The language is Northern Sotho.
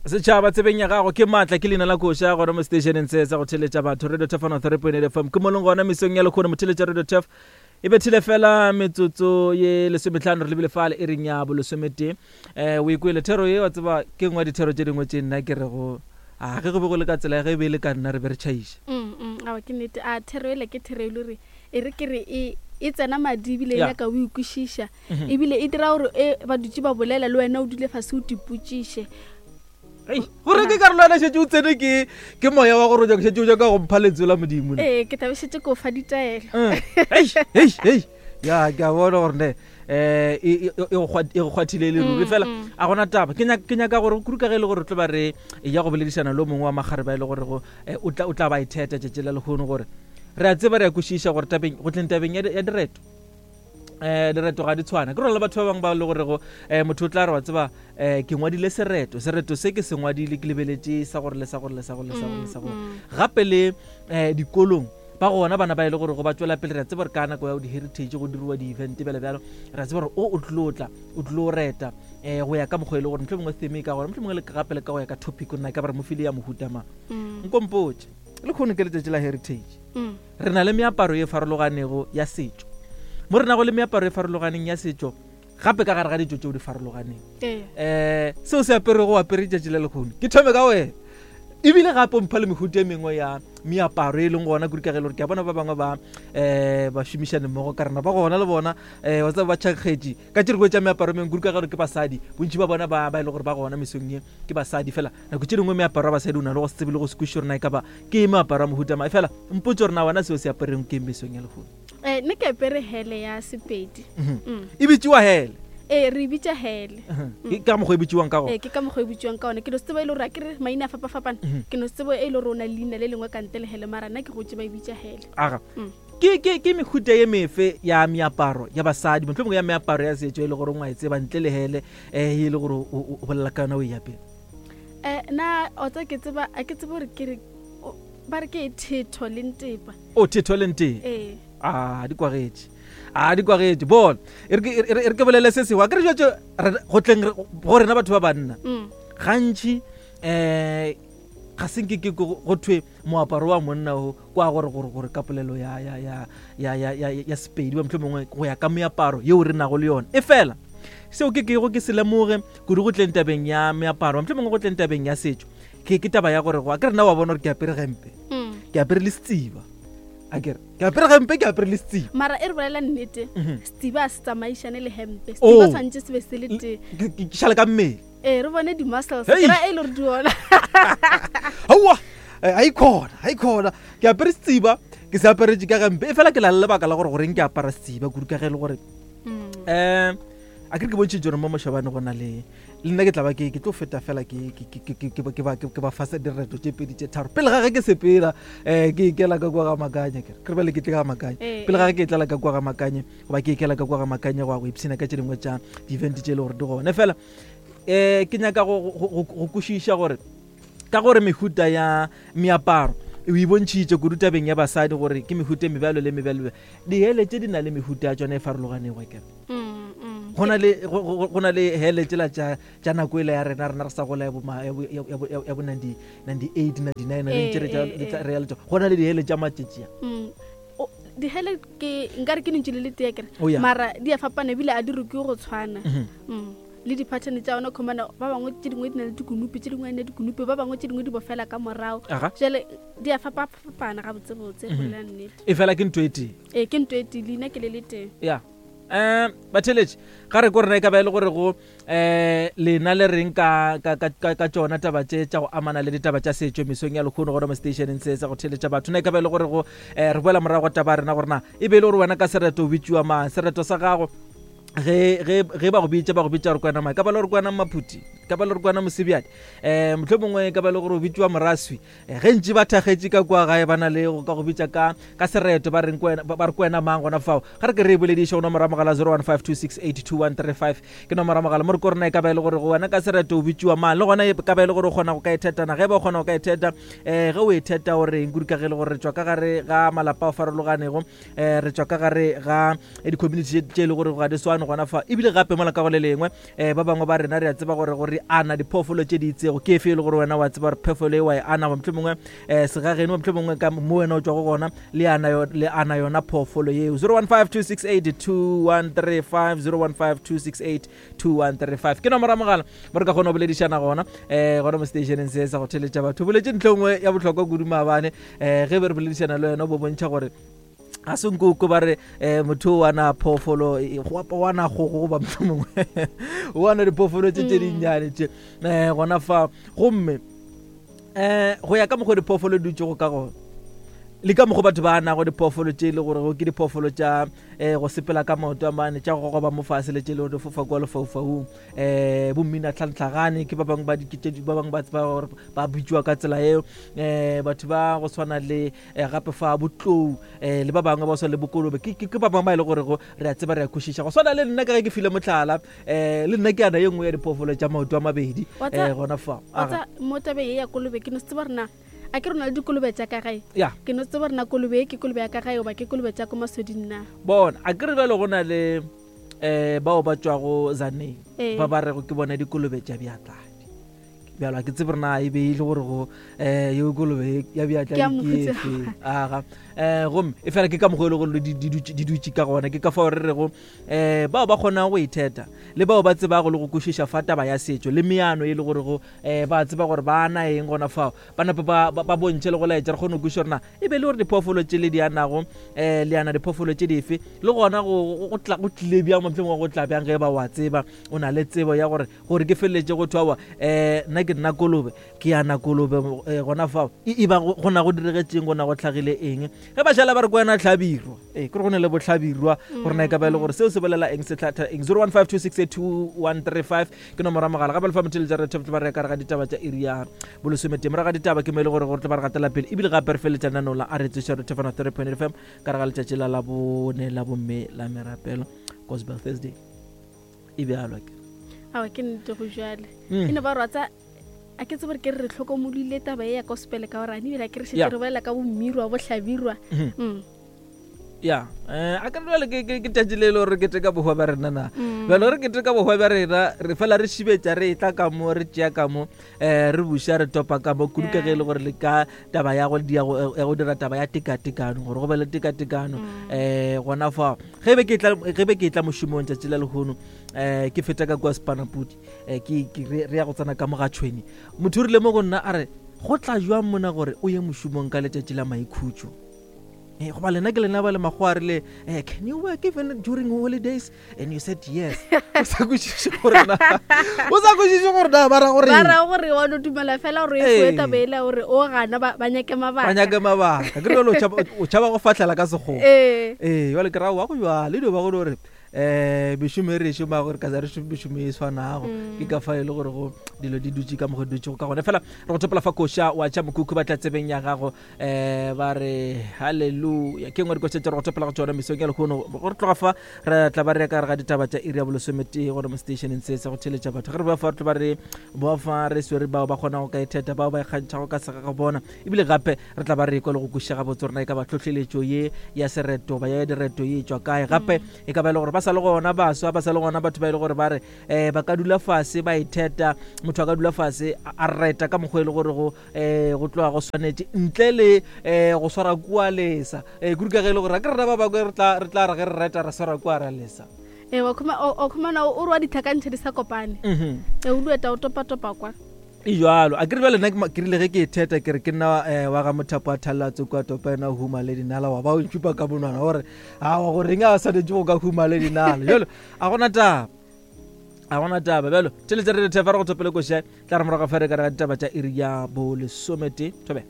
Setšhaba tsebeng ya gago ke maatla ke leina la koša gona mo stationeng se sa go theletša batho Radio Turf 103.8 FM ke molong gona mesong ya lekgono motheletša Radio Turf e bethile fela metsotso ye lesometlhano re lebile fale e reng ya bolesometee um o ikwele thero ye wa tseba ke nngwe ya dithero tše dingwe tše nna ke rego a ge go be go le ka tsela ge e be e le ka nna re be re tšhaiša mm, mm, awa ke nnete a thero ele ke thero e le gore e re ke re e e tsena madi ebile e nyaka o ikwešiša mhm. ebile e dira gore e ba dutse ba bolela le wena o dule fase o tipotšiše gore ke karolo yana šetse o tsene ke ke moya wa gore o nyaka šetse o nyaka go mpha lentswe la modimo ee ke tlabe šetse ko fa ditaelo mm. ya ke a bona gore ne um e go kgwathile e le ruri mm, fela mm. a gona taba ke nyaka gore kudu ka ge e le gore tlo ba re ya go boledišana le o mongwe wa magare ba e le gore eh, o tla ba itheta tšatši la lehono gore re a tseba re a kwešiša gore tabeng go tleng tabeng ya direto eh direto ga di tshwana ke rona le batho ba bangwe ba le gorego um motho o tla re wa tseba um ke ngwadile sereto sereto se ke se ngwadile ke lebeletše sa gore le sa gore le sa gore le sa gore le sa gore mm, mm. gape le um dikolong ba gona bana ba e le gore go ba tswela pele re a tseba gore ka nako ya di-heritage go diriwa di-event bjale bjalo re a tseba gore o o tlilo tla o tlilo reta um go ya ka mokgwa e le gore motlho mongwe theme e ka gore motlho mongwe gape le ka go ya ka topic nna ka ba re mo file ya mohuta mang mm. nkompotše le kgone ke letšatši la heritage Re na le meaparo ye farologanego ya setšo. Mo re nago le meaparo e farologaneng ya setšo, gape ka gare ga ditšo tšeo di farologaneng. Um seo se aperego o apere tšatši la lehono. Ke thome ka wena. Ebile gape o mpha le mehuta e mengwe ya meaparo e leng gona kudu ka ge e le gore ke a bona ba bangwe ba um ba šomišane mmogo ka rena ba gona le bona um wa tseba ba tšhakgetše ka tše dingwe tša meaparo e mengwe kudu ka ge e le gore ke basadi bontši ba bona ba ba e le gore ba gona mesong ye ke basadi fela nako tše dingwe meaparo ya basadi o na le go se tsebe le go se kwešiše gore na e ka ba ke meaparo ya mohuta mang fela mpotse gore na wena seo se apereng ke mesong ya lehono eh nne ke apere hele ya sepedi mhm. mm. e bitsiwa hele ee re e bitša hele mhm. mm. ke ka mokgwa e bitsiwang ka gona ee ke ka mokgwa e bitsiwang ka gona ke no se tseba e le gore a ke re maina a fapafapana mhm. ke no se tseba e le gore o na le leina le lengwe ka ntle le hele mara nna ke gotse ba e bitša hele aga mm. ke ke ke mehuta ye mefe ya meaparo ya basadi mohlomongwe ya meaparo ya setšo e le gore o e tseba ntle le hele um e le gore o bolela ka yona o e ya pele um na otsa ke tseba a ke tsebe gore ke re ba re ke thetho le ntepa o thetho le ntepa ee a di kwagetše a di kwagetše bona e re ke bolele se sengwe a ke re jetse go tleng go rena batho ba banna mm. gantši um ga se nke ke go thwe moaparo wa monna o kwa gore gore gore ka polelo ya ya ya ya ya ya ya Sepedi ba mohlomongwe go ya ka meaparo yeo re nago le yona e fela seo ke kego ke se lemoge kudu go tleng tabeng ya meaparo mohlomongwe go tleng tabeng ya setšo ke ke taba ya gore go a ke rena wa bona gore ke apere gempe mm. ke apere le setsiba a kere ke apere gempe ke apere le setsiba mara e re bolela nnete mhm. setsiba a se tsamaišane le hempe setsiba oh. tshwanetse se be se le tee ke šale ka mmele ee re bone di-muscles ke ra e le gore di ona aowa eh, a ikhona a ikhona ke apere setsiba ke se aparetse ka gampe e fela ke la le lebaka la gore goreng ke apara setsiba kudu ka ge e le gore um a ke re ke bontšhitse gore mo mošabane go na le le nna ke tla ba ke ke tlo feta fela ke ke ba fasa direto tše pedi tše tharo pele ga ge ke sepela um ke ikela ka kwa ga makanye ke re bale ke tle ga makanye eh, pele ga ge ke tlala ka kwa ga makanye goba ke ikela ka kwa ga makanye go ya go ipshina ka tše dingwe tša di-event tše e le gore di gone fela um ke nyaka go kwešiša gore ka gore mehuta ya meaparo o e bontšhitše kudu tabeng ya basadi gore ke mehuta e mebjalo le mebjalo dihele tše di na le mehuta ya tšona e farologanego kere mm, mm. go na le hele tsela tša nako ele ya rena rena re sa gola ya bo 98 99 re ntše re ya le go na le dihele tša matšetšia mm. dihele ke nkare ke lentšu le le tee kere oh, mara di a fapana ebile a di rukiwe go tshwana mhm. mm. le di-pattern tša ona khomana ba bangwe tše dingwe di na le dikunupi tše dingwe ne dikunupi ba bangwe tše dingwe di bofela ka morago jale di a fapafapana gabotsebotse go mhm. lela nnete e fela ke ntho e tee ee ke ntho e tee leina ke le le tee ya um batheletše ga re ko rena e ka ba e le gore go um lena le reng ka, ka, ka, ka, ka tšona taba tše tša go amana le ditaba tša setšo mesong ya lekgono gona mo stationeng se sa go theletša batho na e ka ba e le gore go um re boela morago taba ya rena gore na e be e le gore wena ka sereto o bitšiwa mang sereto sa gago ge ge ge ba go bitša ba go bitša gore kwena mang ka ba le gore kwena maphuti ka ba le gore kwena mosebjadi um motlho mongwe ka ba le gore o bitšiwa moraswi Eh, ge ntši ba thakgetše ka kua gae ba na le go ka go bitša ka ka sereto ba reng kwena ba re kwena mang gona fao ga re ke re e bolediše go nomoro ya mogala 0152682135 ke nomoro ya mogala mo re ko rena e ka ba e le gore go wena ka sereto o bitšiwa mang le gona e ka ba e le gore o kgona go ka e thetana ge ba o kgona go ka e theta um ge o e theta o reng kudu ka ge e le gore re tšwa ka gare ga malapa a farologanego um re tšwa ka gare ga di-community tše e le gore ga di swane gona fa ebile gape mola ka go le lengwe um ba bangwe ba rena re a tseba gore gore re ana diphoofolo tše di itsego. Ke efe e le gore wena wa tseba gore phoofolo e wa e ana, goba mohlomongwe um segageno, mohlomongwe ka mo wena o tšwago gona le ana, le ana yona phoofolo yeo. 0152682135 0152682135 ke nomoro ya mogala mo re ka kgona go boledišana gona um gona mo stationeng se sa go theletša batho. Boletše ntlho nngwe ya bohlokwa kudu maabane um ge be re boledišana le wena, o bo bontšha gore ga se nkoko ba re um motho o ana phoofolo, o ana kgogo goba mohlomongwe o ana diphoofolo tše tše dinnyane tše um gona fa. Gomme um go ya ka mokgwa diphoofolo di dutšego ka gona le ka mokgwa batho ba nago diphoofolo tše e le gore ke diphoofolo tša um go sepela ka maoto a mane, tša go gogoba mo fase, le tše e le gore di fofa kua lefaufaung, um bommina tlhantlhagane ke ba bangwe ba ba bangwe ba tseba gore ba bitšwa ka tsela eo, um batho ba go tshwana le gape fa botlou, um le ba bangwe ba swana le bokolobe ke ba bangwe ba e le gore go re a tseba, re a kwešiša. Go swana le nna ka ge ke file motlhala, um le nna ke ana ye nngwe ya diphoofolo tša maoto a mabedi um gona fa. Mo tabeng ye ya kolobe, ke no se tseba rena a ke rona le dikolobe tša ka gae. Ya. Ke no tseba rena kolobe e ke kolobe ya ka gae goba ke kolobe tša ko masoding na. Bona, a ke re bjalo go na le um bao ba tšwago Zaneng ba ba rego ke bona dikolobe tša bjatladi. Bjalo a ke tsebe rena e be e le gore go um yeo kolobe ya bjatladi ke efe. Aga um gomme e fela ke ka mokgwa e le gore di dutše ka gona, ke ka fao re rego um bao ba kgonago go itheta le bao ba tsebago le go kwešiša fa taba ya setšo le meano e le gore go um ba tseba gore ba ana eng gona fao, ba nape ba bontšhe le go laetša, re kgone go kwešiša gore na e be le gore diphoofolo tše le di anago um le ana diphoofolo tše dife, le gona go tlile bjang, mohlomongwe go tla bjang ge ba wa tseba o na le tsebo ya gore gore ke feleletše go thwa um nna ke nna kolobe, ke ana kolobe gona fao e ba go na go diregetseng, go na go tlhagile eng ge ba šala ba re ko wena hlabirwa. Ee, ke re go ne le bohlabirwa gore na e ka ba e le gore seo se bolela eng, se hlatha eng. 0152682135 ke nomoro ya mogala. Gape le fa motheletša re tlo ba re ka re ga ditaba tša iri ya bolesometee, morago ga ditaba ke mo e le gore gore tlo ba re gatela pele ebile gape re feleletša lenaneo la a re tsoša re thefana 3.8 FM ka re ga letšatši la labone la bomme la merapelo, Gospel Thursday e bjalo ke. Awa, ke nnete go jale. E no ba rwatsa a ke tsebe gore ke re re hlokomolile taba e ya gospel ka gore ebile a ke re šetse re bolela ka bommirwa bohlabirwa. Ya, a ka jale ke tšatši le e le gore re keteka bohwa bja rena na. Bjalo re keteka bohwa bja rena, re fela re šibetša, re etla ka mo, re tšea ka mo, um re buša re topa ka mo kudu ka ge e le gore le ka taba ya go ya go dira taba ya tekatekano, gore go be le tekatekano um gona fao. Ge be ke tla ge be ke tla mošomong tšatši la lehono, um ke feta ka kua Sepanapudi, um ke re ya go tsena ka mo ga tšhweni, motho o rile mo go nna a re go tla jwang mona gore o ye mošomong ka letšatši la maikhutšo? Eh, goba lena ke lena ba le makgowa a rile, can you work even during holidays? And you said yes. O sa kwešiše gore na, o sa kwešiše gore na ba ra gore ba ra gore wa no dumela fela gore e foe taba ela gore o gana ba nyake mabaka, ba nyake mabaka. Ke re o tšhaba go fahlela ka sekgowa. Ee, jwale ke ra wa go jwale dio ba go gore um mešomo e re e šomago gore ka sa re šome mešomo e swanago, ke ka fa e le gore go dilo di dutše ka mokgwa di dutšego ka gone. Fela re go thopela fa koša wa tša mokhukhu ba tla tsebeng ya gago, um ba re halleluja ke nngwe dikoša tše re go thopela go tšona mesong ya lehono. Gore tloga fa re tla ba re ya ka gare ga ditaba tša iri ya bolesometee gore mo stationeng se sa go theletša batho. Ge re boa fa re tlo ba re boa fa re swere bao ba kgonago ka itheta, bao ba ikgantšhago ka sega ga bona, ebile gape re tla ba re ekwa le go kwešiša gabotse gore na e ka ba tlhohleletšo ye ya sereto ba ya direto ye e tšwa kae. Gape e ka ba e le gore ba sa le gona baswa, ba sa le gona batho ba e le gore ba re um ba ka dula fase ba itheta, motho a ka dula fase a reta ka mokgwa e le gore go um go tloga go swanetše ntle le um go swara kua lesa, um kudu ka ge e le gore a ke rena ba bangwe re tla re ge re reta re swara kua ra lesa. Ee, wa khumana o re wa ditlhakantšhe di sa kopane. Ee, o dueta o topa-topa kwa. E jalo a ke re bjale nna ke rile ge ke e theta ke re ke nna um wa ga mothapo a thalela kwa topa ena huma le dinala, wa ba o ntšhupa ka monwana gore awa goreng a swanetše go ka huma le dinala. Jalo a gona taba, a gona taba. Bjalo theletše re re thefa re go thopele koša tla re morago fa re ka re ga ditaba tša iri ya bolesomete thobela.